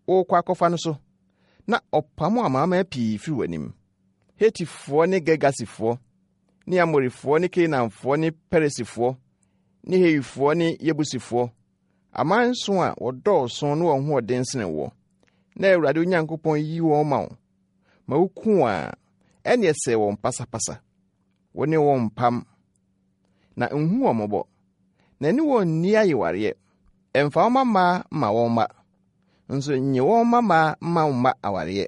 worekɔ akɔfa no so, na ɔpamo amanaman pii firi w'anim, Hetifoɔ ne Girgasifoɔ ne Amorifoɔ ne Kanaanfoɔ ne Perisifoɔ ne Hewifoɔ ne Yebusifoɔ, aman nson a wɔdɔɔso ne wɔn ho ɔden sene woɔ, na Awurade Onyankopɔn yi wɔn ma wo ma woku wɔn a, ɛnneɛ sɛe wɔn pasapasa. Wo ne wɔn mpam, na nhu wɔn mmɔbɔ, na ne wɔn nni ayewareɛ. Mfa wo mmammaa mma wɔn mma, nso nnye wɔn mmammaa mma wo mma awareɛ,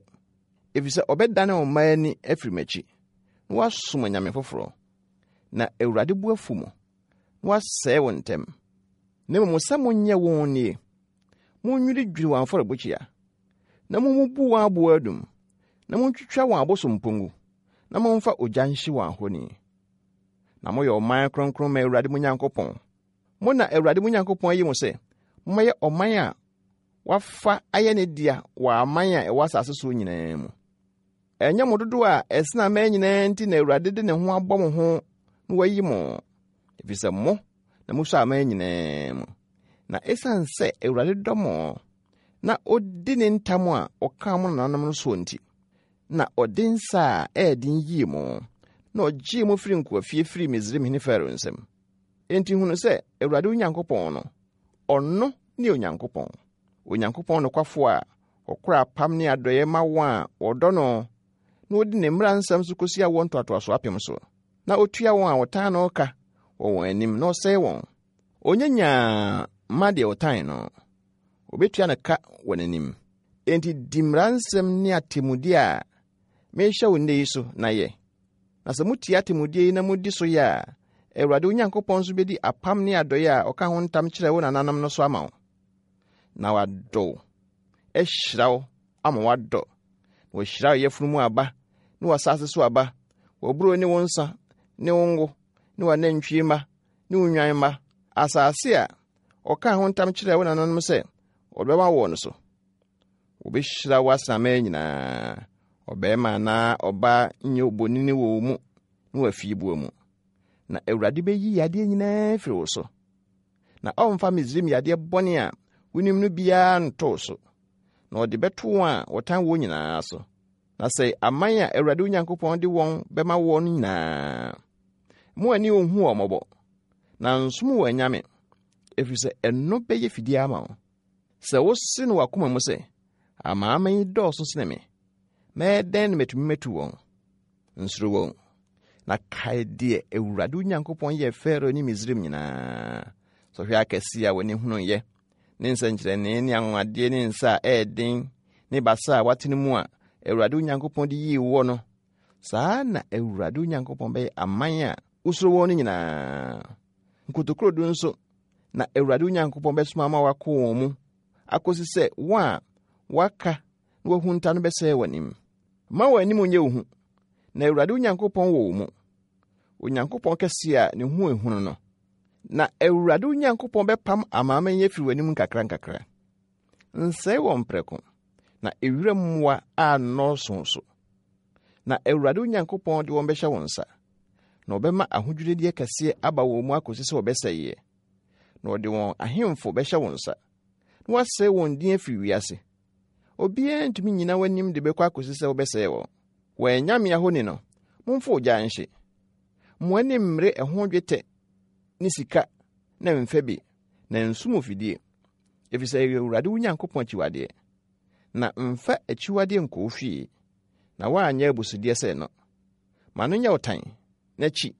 ɛfiri sɛ ɔbɛdane wo mma ani afiri m'akyi, na wɔasom anyame foforɔ. Na Awurade bo afu mo, na wasɛe wo ntɛm. Na mmom sɛ monyɛ wɔn nie, monnwiridwiri wɔn afɔrebukyia, na mommubu wɔn aboɔ adum, na montwitwa wɔn abosompɔ ngu, na momfa ogya nhye wɔn ahoni. Na moyɛ ɔman kronkron ma Awurade mo Nyankopɔn. Mo na Awurade mo Nyankopɔn ayi mo sɛ mommɛyɛ ɔman a wafa ayɛ ne dea wɔ aman a ɛwɔ asase soɔ nyinaa mu. Ɛnyɛ mo dodoɔ a ɛsene aman nyinaa nti na Awurade de ne ho abɔ mo ho na wayi mo, ɛfiri sɛ mo na mosɔ aman nyinaa mu. Na ɛsiane sɛ Awurade dɔ mo na ɔdi ne ntam a ɔkaa mo nananom no soɔ nti, na ɔde nsa a ɛyɛ den yii mo, na ɔgyee mo firii nkoafie firii Misraimhene Farao nsam. Enti hunu sɛ Awurade wo Nyankopɔn no, ɔno ne Onyankopɔn, Onyankopɔn nokwafo a ɔkora apam ne adɔeɛ ma wɔn a wɔdɔ no na wɔdi ne mmara nsɛm so kɔsi awoɔ ntoatoasoɔ apem so, na ɔtua wɔn a wɔtan no ka wɔ wɔn anim na ɔsɛe wɔn. Ɔnyɛ nyaa mma deɛ ɔtan no, ɔbɛtua no ka wɔ n'anim. Enti di mmara nsɛm ne atemmudeɛ a merehyɛ wo nnɛ yi so na yɛ. Na sɛ motie atemmudeɛ yi na modi so yɛ a, Awurade wo Nyankopɔn nso bɛdi apam ne adɔeɛ a ɔka ho ntam kyerɛɛ wo nananom no so ama wo. Na wadɔ wo, ahyira wo ama woadɔ, na wahyira wo yafunu mu aba ne w'asase so aba, w'aburow ne wo nsa ne wo ngo ne w'anantwie mma ne wo nnwan mma, asase a ɔkaa ho ntam kyerɛɛ wo nananom sɛ ɔde bɛma woɔ no so. Wɔbɛhyira wo asraman nyinaa, ɔbarima anaa ɔbaa nyɛ obonini wɔ wo mu ne w'afieboa mu. Na Awurade bɛyi yadeɛ nyinaa afiri wo so, na ɔremfa Misraim yadeɛ bɔne a wonim no biara nto wo so, na ɔde bɛto wɔn a wɔtan woɔ nyinaa so. Na sɛe aman a Awurade wo Nyankopɔn de wɔn bɛma woɔ no nyinaa. Mo ani nhu wɔn mmɔbɔ, na nsom wɔn anyame, ɛfiri sɛ ɛno bɛyɛ fidie ama wo. Sɛ wose no w'akoma mu sɛ, Amanaman yi dɔɔso sene me, mɛyɛ dɛn na matumi matu wɔn? Nsuro wɔn, na kae deɛ Awurade wo Nyankopɔn yɛɛ Farao ne Misraim nyinaa, sɔhwɛ akɛseɛ a w'ani hunuiɛ, ne nsɛnkyerɛnne ne anwanwadeɛ ne nsa a ɛyɛ den ne basa a watene mu a Awurade wo Nyankopɔn de yii woɔ no. Saa na Awurade wo Nyankopɔn bɛyɛ aman a wosuro wɔn no nyinaa. Nkotokurodu nso na Awurade wo Nyankopɔn bɛsoma ama wɔakɔ wɔn mu akosi sɛ wɔn a wɔaka na wɔahunta no bɛsɛe w'anim. Mma wɔn anim nyɛ wo hu, na Awurade wo Nyankopɔn wɔ wo mu, Onyankopɔn kɛse a ne ho ehunu no. Na Awurade wo Nyankopɔn bɛpam amanaman yi afiri w'anim nkakrankakra. Nsɛe wɔn prɛko, na ewira mmoa annɔɔso so. Na Awurade wo Nyankopɔn de wɔn bɛhyɛ wo nsa, na ɔbɛma ahodwirideɛ kɛseɛ aba wɔn mu akɔsi sɛ wɔbɛsɛeɛ. Na ɔde wɔn ahemfo bɛhyɛ wo nsa, na wasɛe wɔn din afiri wiase. Obiara ntumi nnyina w'anim de bɛkɔ akɔsi sɛ wobɛsɛe wɔn. Wɔn anyame ahoni no, momfa ogya nhye. Mo ani mmere ɛho dwetɛ ne sika na mfa bi, na nso fidie, ɛfiri sɛ ɛyɛ Awurade wo Nyankopɔn akyiwadeɛ. Na mfa akyiwadeɛ nkɔ wo fie, na woanyɛ abusudeɛ sɛ no. Ma no nyɛ wo tan, na kyi.